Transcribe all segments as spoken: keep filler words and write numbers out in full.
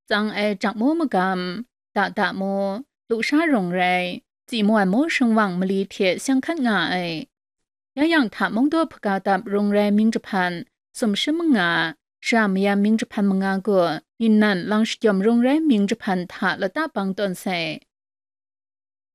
tsang ai jak mu magam, dada mu, lusha rung rai, tsi mu ai mu shingwang mali hte seng hkat nga ai. Ya yang hta mungdaw hpaga dap rung rai mying jahpan, sumshi manga, shara mayam mying jahpan manga gaw, ningnan lang shagyawm rung rai mying jahpan hta lata bang tawn sai.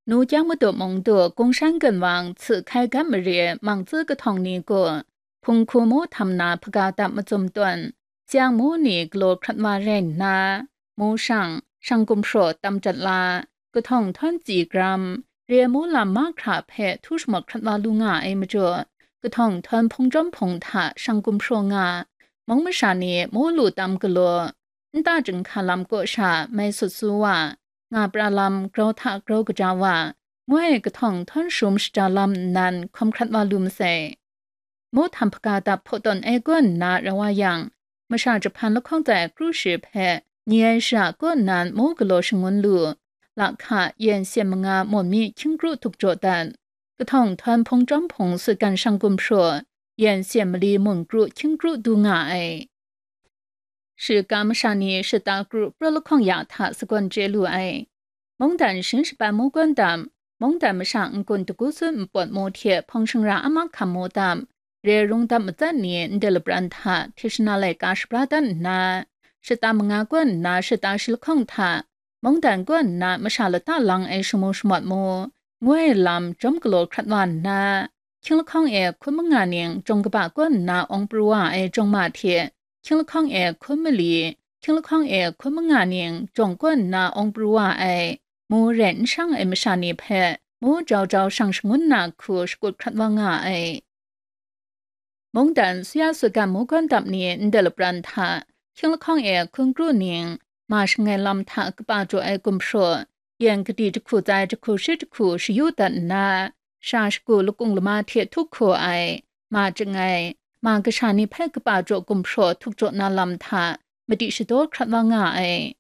Nu Kyang Madu Mungdu, Gungshan Gunwang, Hci Hkai Gat Mare, Mangtsi kahtawng ni gaw, hpung hku mu htam na hpaga dap macum tawn, seng mu ni galaw hkrat wa rai nna, mu shang, shang gumhpraw tam jat la, kahtawng htawn tsi gram, re mu lam mahkra hpe htu shamat hkrat wa lu nga ai majaw, kahtawng htawn hpung chyawm hpung hta shang gumhpraw nga, mung masha ni mu lu tam galaw, nta chyinghka lam kaw sha mai sut su wa, nga pra lam grau hta grau kaja wa, ngu ai kahtawng htawn shum shaja lam nnan hkawm hkrat wa lu masai. Mu htam hpaga dap hpaw tawn ai kaw nna rai wa yang, masha jahpan lahkawng tsai kru shi hpe nye ai shara kaw nnan mu galaw shangun lu, lahka yen syen manga mawn mi hkying kru htuk jaw dat, kahtawng htawn hpung chyawm hpung sutgan shang gumhpraw, yen syen mali mun kru hkying kru du nga ai. Shiga masha ni shata kru praw lahkawng ya hta sagawn chye lu ai. Mungdan shin shapan mu gawn dam, mungdan masha n-gun dagu sun npawt mu hte hpawng shingra a mahkam mu dam, re rung dam matsat ni ndai lapran hta hti shana laika shabra dat nna, shata manga gawn nna shata shi lahkawng hta, mungdan gawn nna masha lata lang ai shamu shamawt mu, ngu ai lam jawm galaw hkrat wa nna, hkying lahkawng e hkun manga ning jawng kaba gawn nna awng pru wa ai jawng ma hte, hkying lahkawng e hkun mali, hkying lahkawng e hkun manga ning jawng gawn nna awng pru wa ai, mu rai n shang ai masha ni hpe mu jau jau shang shangun na hku shakut hkrat wa nga ai. Mungdan suya sutgan mu gawn dap ni ndai lapran hta, hkying lahkawng e hkun kru ning, ma shangai lam hta kaba jaw ai gumhpraw, yen kadi jahku tsai jahku shi jahku shayu dat nna, sha shagu lakung lama hte htuk hku ai, ma chyangai, ma kasha ni hpe kaba jaw gumhpraw htuk jaw na lam hta madi shadaw hkrat wa nga ai.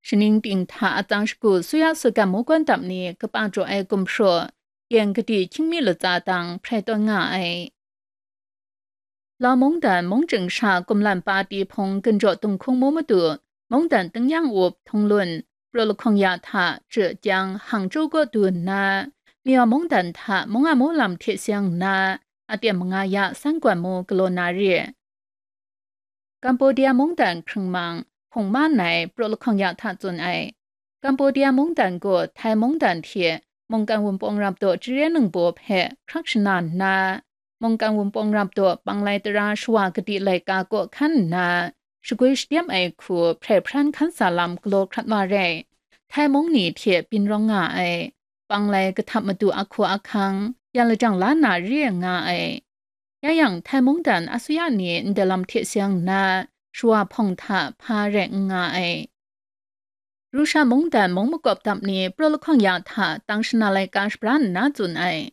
Shaning ting hta atsang shagu suya sutgan mu gawn dap ni kaba jaw ai gumhpraw, yen kadi hkying mi latsa dang hprai tawn nga ai. Lau mungdan mung chying sha kumlan pa ti hpung ginjaw dunghkung mu madu, mungdan tingnyang up htung lun, praw lahkawng ya hta, Zhejiang, Hangzhou kaw du nna, Miaw mungdan hta mung a mu lam hte seng nna, aten manga ya san gwan mu galaw na re. Kambodia mungdan hkrung mang, hpung ma nai praw lahkawng ya hta tsun ai. Kambodia mungdan gaw Thai mungdan hte mungkan wunpawng rap daw Jire ningbaw hpe hkrak shana nna, mungkan wunpawng rap daw Panglai tara shawa kadi laika kaw hkan nna, shagwi shadem ai hku hprai hpran hkan sa lam galaw hkrat wa rai. Thai mung ni hte byin rawng nga ai, Panglai kahtap madu ahku ahkang, yan lajang la na re nga ai. Ya yang, Thai mungdan asuya ni ndai lam hte seng nna, shawa hpawng hta hpa rai n nga ai. Rusha mungdan mung makawp dap ni praw lahkawng ya hta tang shana laika shabra nna tsun ai.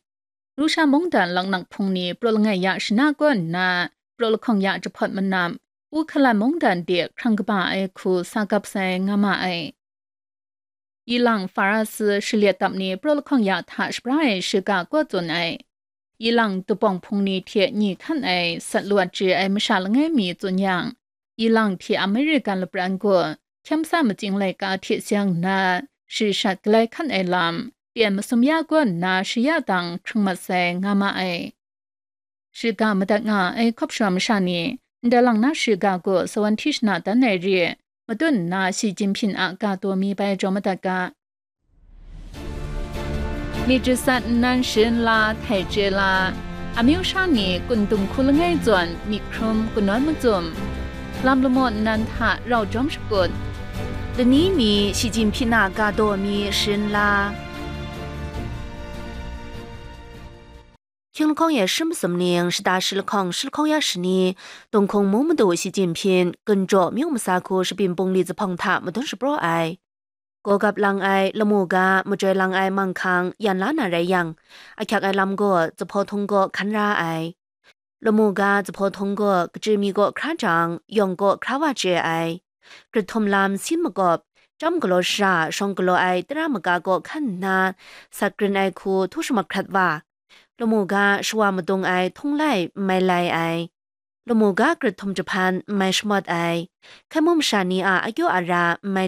Rusha mungdan laknak hpung ni praw langai ya shana kaw nna, praw lahkawng ya jahpawt manam, Ukhalan mungdan de hkrang kaba ai hku sa gap sai nga ma ai. Ilang Farasi shalet dap ni praw lahkawng ya hta shabra ai shiga kaw tsun ai. Ilang dubawng hpung ni hte nyi hkan ai sat lawt chye ai masha langai mi tsun yang, ilang hte American lapran gaw hkyam sa matsing laika hte seng nna, shi shat galai hkan ai lam, pyen masum ya kaw nna shi ya dang hkrung mat sai nga ma ai. Shiga madat nga ai hkawp shawm masha ni, ndai lang na shiga gaw sawan hti shana dan ai re, matut nna Xi Jinping a ga taw mi bai jaw madat ga. Myit jasat nnan sharin la, htai chye la, amyu sha ni kun dung hku langai zawn myit hkrum kanawn macum, lam lamaw nnan hta rau jawm shakut, lani mi Xi Jinping a ga taw mi sharin la. Hkying lahkawng e shi masum ning, shata shi lahkawng, shi lahkawng ya shani, Dunghkung mung madu Xi Jinping, Ginjaw myu masa hku Shabyin Pungli zuphpawng hta madun shapraw ai. Gawgap lang ai, lamu ga, majoi lang ai manghkang yan la na rai yang, ahkyak ai lam gaw zuphpawng htung gaw hkan ra ai. Lamu ga zuphpawng htung gaw kachyi mi kaw hkra jang, yawng kaw hkra wa chye ai. Grit htum lam sin makawp, chyam galaw shara, shawng galaw ai tara maga kaw hkan nna, sat grin ai hku htu shamat hkrat wa. Lamu ga shawa madung ai htung lai n mai lai ai. Lamu ga grit htum jahpan n mai shamawt ai. Hkai mung masha ni a akyaw ara n mai